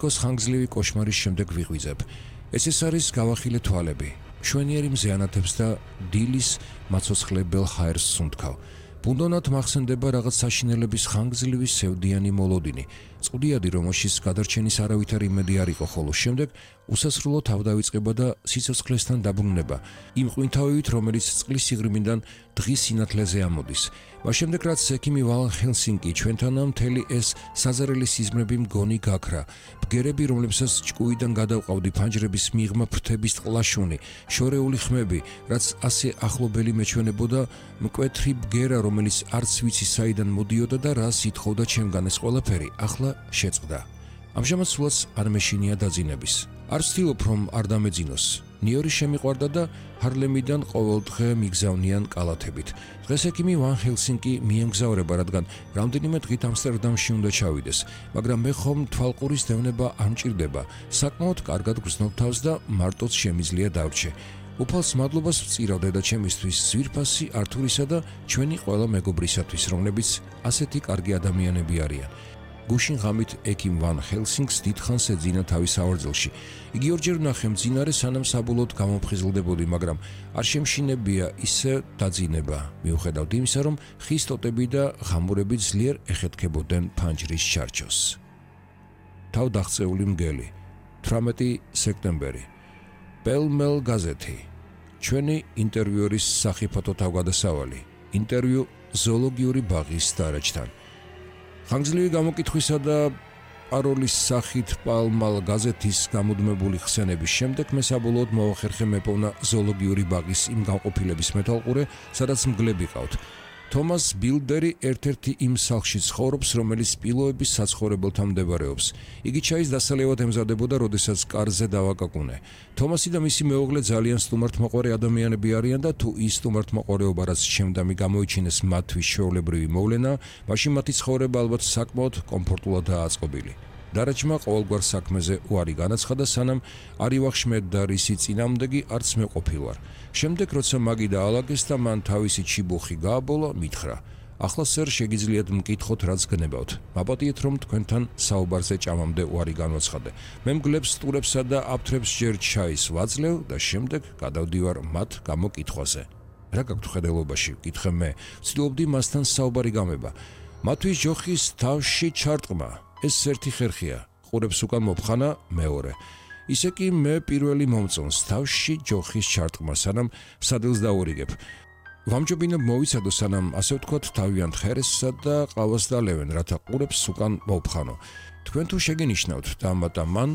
კოს ხანგრძლივი კოშმარის შემდეგ ვიღვიძებ. ეს არის გავახილე თვალები, მშვენიერი მზეანათებს და დილის მაცოცხლებელ ჰაერს სუნთქავ. ბუნდონად მახსენდება რაღაც საშინელების ხანგრძლივი სევდიანი მოლოდინი, წყუდიადი, რომელშიც გადარჩენის არავითარი იმედი არ იყო, ხოლო შემდეგ უსასრულო თავდავიწყება და სიცოცხლესთან დაბრუნება, იმ ყვინთავივით, რომელიც წყლის სიღრმიდან დღის სინათლეზე ამოდის. მას შემდეგ, რაც ექიმი ვალ ჰელსინკი ჩვენთანამ მთელი ეს საზარელი სიზმრები მგონი გაქრა, ბგერები, რომლებსაც ჭკუიდან გადავყავდი ფანჯრების მიღმა ფრთების ტყლაშუნი, შორეული ხმები, რაც ასე ახლობელი მეჩვენებოდა, მკვეთრი ბგერა, რომელიც არც ვიცი საიდან მოდიოდა და რას ითხოვდა ჩემგან ეს ყველაფერი, ახლა შეწყდა. ამჟამად სულაც არ მეშინია დაძინების. არ ვცდილობ, რომ არ დამეძინოს. ნიუ-იორკი შემიყვარდა და ჰარლემიდან ყოველდღე მიგზავნიან კალათებით. დღეს ექიმი ვან ჰელსინკი მიემგზავრება, რადგან რამდენიმე დღით ამსტერდამში უნდა ჩავიდეს, მაგრამ მე ხომ თვალყურის დევნება არ მჭირდება. საკმაოდ კარგად გრძნობ თავს და მარტოც შემიძლია დავრჩე. უფალს მადლობას ვწირავ დედაჩემისთვის, ძვირფასი ართურისა და ჩვენი ყველა მეგობრისათვის, რომლებიც ასეთი კარგი ადამიანები არიან. გუშინ ღამით ექიმ ვან ჰელსინკს დიდხანს ეძინა თავის ავარძელში. იგი ორჯერ ვნახე მძინარე, სანამ საბოლოოდ გამომფხიზლდებოდი, მაგრამ არ შემშინებია ისე დაძინება, მიუხედავად იმისა, რომ ხის ტოტები და ღამურები ძლიერ ეხეთქებოდნენ ფანჯრის ჩარჩოს. თავდაღწეული მგელი, 18 სექტემბერი. პელ-მელ გაზეთი. ჩვენი ინტერვიურის სახიფათო თავგადასავალი. ინტერვიუ ზოოლოგიური ბაღის დარაჯთან. ხანგრძლივი გამოკითხვისა და პაროლის სახით პალ-მალ გაზეთის გამუდმებული ხსენების შემდეგ მე საბოლოოდ მოვახერხე მეპოვნა ზოოლოგიური ბაღის იმ განყოფილების მეტალყურე, სადაც მგლები ყავთ. თომას ბილდერი ერთ-ერთი იმ სახლში ცხოვრობს, რომელიც სპილოების საცხოვრებელთან მდებარეობს. იგი ჩაის დასალევად ემზადებოდა, როდესაც კარზე დავაკაკუნე. თომასი და მისი მეუღლე ძალიან სტუმართმოყვარე ადამიანები არიან და თუ ის სტუმართმოყვარეობა, რაც შემდამი გამოიჩინეს მათთვის ჩვეულებრივი მოვლენა, მაშინ მათი ცხოვრება ალბათ საკმაოდ კომფორტულადაა აწყობილი. დარაჯმა ყოველგვარ საქმეზე უარი განაცხადა, სანამ არ ივახშმედდა რისი წინამდეგი არც მე ყოფილვარ. შემდეგ, როცა მაგი დაალაგეს და მან თავისი ჩიბუხი გააბოლა, მითხრა: ახლა სერ შეგიძლიათ მკითხოთ, რაც გნებავთ. მაპატიეთ, რომ თქვენთან საუბარზე ჭამამდე უარი განვაცხადე. მე მგლებს, სტურებსა და აფთრებს ჯერ ჩაის ვაძლევ და შემდეგ გადავდივარ მათ გამოკითხვაზე. რა გაქვთ ხედელობაში? ვკითხე მე. ვცდილობდი მასთან საუბარი გამება. მათთვის ჯოხის თავში ჩარტყმა. ეს ერთი ხერხია, ყურებს უკან მოფხანა მეორე. ისე კი მე პირველი მომწონს თავში ჯოხის ჩარტყმა, სანამ სადილს დაურიგებ. ვამჯობინებ მოვიცადო, სანამ ასე ვთქვათ, თავიანთ ხერესსა და ყავას დალევენ, რათა ყურებს უკან მოვხანო. თქვენ თუ შეგენიშნავთ და მან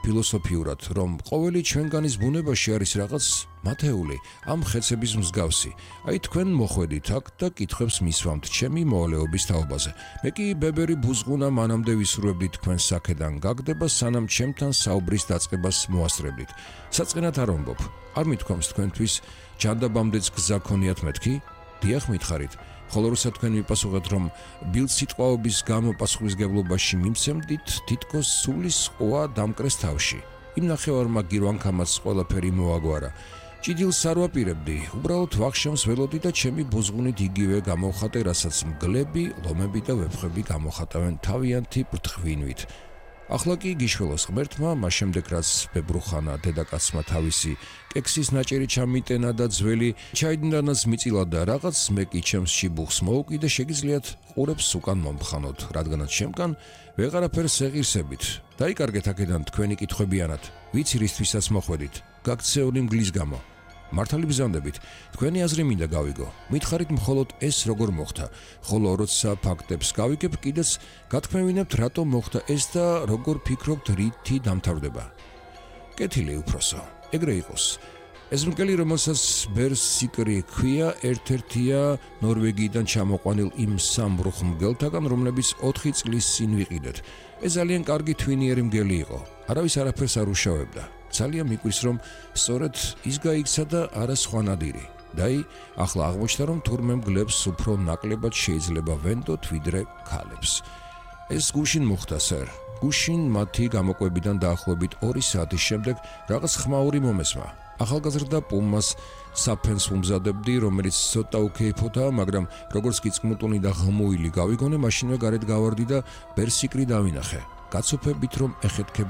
ფილოსოფიურად, რომ ყოველი ჩვენგანის ბუნებაში არის რაღაც მათეული, ამ ხეცების მსგავსი. აი თქვენ მოხვედით აქ და კითხვებს მისვამთ ჩემი მოვალეობის თაობაზე. მე კი ბებერი ბუზღუნა მანამდე ვისურვებდი თქვენს საქედან გაგდება, სანამ ჩემთან საუბრის დაწყებას მოასწრებდით. საწყენად არ ვამბობ. არ მithქვამს თქვენთვის ჯანდაბამდეც გზა ქონიათ მეთქი? დიახ, მითხარით. ხოლო როცა თქვენ მიპასუხეთ, რომ ბილწიტყვაობის გამო პასუხისგებლობაში მიმცემდით, თითქოს სულის ყვა დამკრეს თავში. იმ ნახევარმა გირვანქამაც ყველაფერი მოაგვარა. ჭიდილს არ ვაპირებდი, უბრალოდ ვახშამს ველოდი და ჩემი ბუზღუნით იგივე გამოვხატე, რასაც მგლები, ლომები და ვეფხვები გამოხატავენ თავიანთი ბრთხვინვით. ახლა კი გიშველოს ღმერთმა, მას შემდეგ რაც ბებრუხანა დედაკაცმა თავისი კექსის ნაჭერი ჩამიტენა და ძველი ჩაიდნანაც მიწილა და რაღაც მე კი ჩემს ჩიბუხს მოვუკიდე, შეგიძლიათ ყურებს უკან მომხანოთ, რადგანაც შემკან ვეღარაფერს ეღირსებით. დაიკარგეთ აქედან თქვენი კითხვებიანად, ვიცი რისთვისაც მოხვედით, გაქცეული მგლის გამო. მართალი ბრძანდებით, თქვენი აზრი მინდა გავიგო. მითხარით მხოლოდ ეს როგორ მოხდა, ხოლო როცა ფაქტებს გავიგებ, კიდეც გათქმევინებთ, რატომ მოხდა ეს და როგორ ფიქრობთ, რითი დამთავრდება. კეთილი უფროსო, ეგრე იყოს. ეს მგელი, რომელსაც ბერსიკრი ჰქვია, ერთ-ერთია ნორვეგიიდან ჩამოყვანილ იმ სამ რუხ მგელთაგან, რომლებიც 4 წლის წინ ვიყიდეთ. ეს ძალიან კარგი თვინიერი მგელი იყო. არავის არაფერს არ უშავებდა. ძალიან მიკვრის, რომ სწორედ ის გაიქცა და არა სხვა ნადირი. დაი, ახლა აღმოჩნდა, რომ თურმე მგლებს უფრო ნაკლებად შეიძლება ვენდოთ, ვიდრე ქალებს. ეს გუშინ მოხდა, სერ. გუშინ მათი გამოკვებიდან დაახლოებით 2 საათის შემდეგ რაღაც ხმაური მომესმა. ახალგაზრდა პუმას საფენს უმზადებდი, რომელიც ცოტა უკეიფოთაა, მაგრამ როგორც კი წყმუტუნი და ღმუილი გავიგონე, მაშინვე გარეთ გავარდი და ბერსიკრი დავინახე. გაცოფებით რომ ეხეთქებოდა